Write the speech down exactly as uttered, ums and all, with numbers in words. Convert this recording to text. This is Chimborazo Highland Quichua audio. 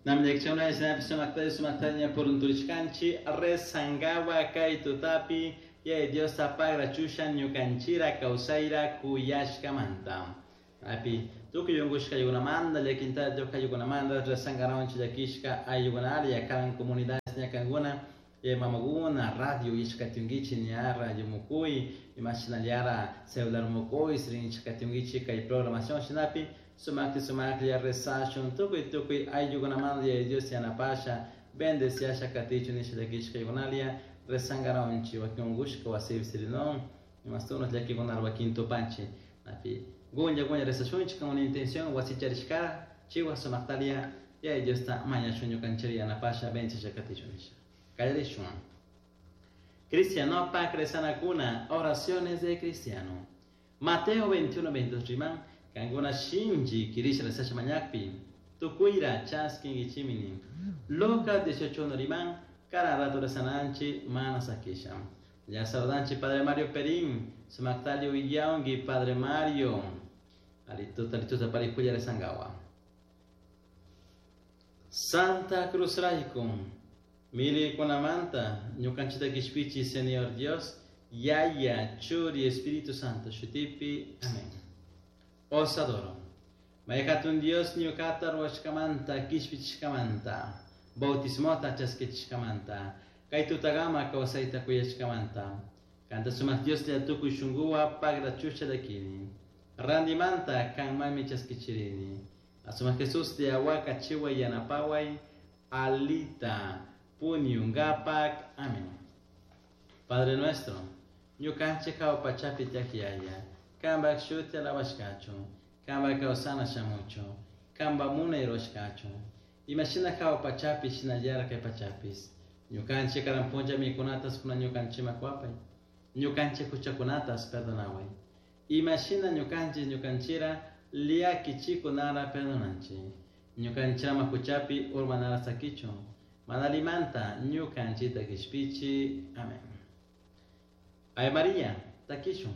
Namlekchuna isnapi sumakta sumaktaña purunturishkanchi rezangawa kay tutapi yaya Diosta pagrachusha ñukanchira kawsayra kuyashkamanta. Api tukuy unkushka ayllunamanta llakinta ayllunamanta rezangarawanchik llakishka ayllukunalla karan comunidades ñakankuna mamakuna radio ishkatyunkichik ña radio mukuy imashinallara celular mukuy rinchikatyunkichik kay programación shinapi sumakti sumaklla rezashun tukuy tukuy ayllukunamanta yaya Dios yanapasha bendeciasha katichun nisha llakishka ayllunalla rezangarawanchik wakin unkushka wasipi sirinon imastunas llakikunara wakin tupanchik api gunya gunya rezashunchik con una intención wasicharishkara chiwa sumaktalia yaya Diosta mañashun ñukanchik yanapasha bendeciasha katichun nisha. Kallarishun. Cristiano pa rezanakuna, oraciones de cristiano. Mateo veintiuno, veintidós riman, kankuna shinchi kirisha rezasha mañakpi, tukuyra chaskinkichimini. Lucas dieciocho uno riman, kara rato rezananchi mana sakisha. Ya saludanchi Padre Mario Perín, sumaktalio iyaungi Padre Mario. Alituta alituta parikuya rezangawa. Santa Cruz raikum. Mili kunamanta, ñukanchita kishpichi, Señor Dios, Yaya, Churi, Espíritu Santo, Shutipi, Amén. Os adoro. Mayhatun Dios ñukata ruwashkamanta, kishpichishkamanta, bautismota chaskichishkamanta, kay tutagama kawsayta kuyashkamanta, kanta sumaq Dios lla tukuy shunquwa pagrachusha llakini, randimanta kanmami chaskichirini, asumaq Jesús lla wakachiway yanapaway, alita, puñungapak. Amén. Padre nuestro, ñukanchik hawa pachapi tiyak yaya, kanpak shuti alabashkachun, kanpak kawsana shamuchun, kanpak munay rurashkachun, imashina hawa pachapi shinallara kay pachapis, ñukanchik karan punlla mikunatas kuna ñukanchikman kuwapay, ñukanchik huchakunatas perdonaway, imashina ñukanchik ñukanchira llakichikunara perdonanchik, ñukanchikman huchapi urmanara sakichun, manalimanta ñukanchita kishpichi. Amén. Ave María, takishun.